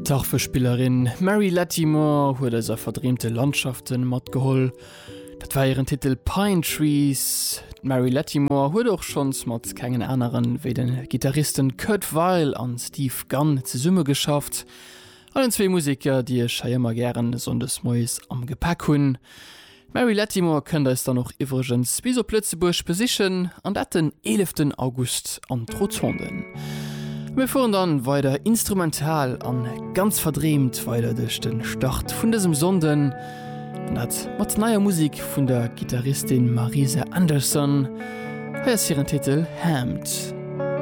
D'Harfespillerin Mary Lattimore huet eis a verdreemte Landschafte matgeholl. Dat war hiren Titel Pine Trees. D'Mary Lattimore huet och schonns mat kengen aneren wéi de Gittaristen Kurt Weill an Steve Gunn zesummegeschafft. Allen zwee Museker, déi ech hei ëmmer gären sonndes moies am Gepäck hunn. D'Mary Lattimore kënnt eis dann och iwwregens bis op Lëtzebuerg besichen, an dat den 11 August an d'Rotonden. Mir fueren dann weider instrumental an ganz verdreemt weider duerch den Start vun dësem Sonnden, an dat mat neier Musik vun der Gittaristin Marisa Anderson. Hei ass hiren Titel Hammed.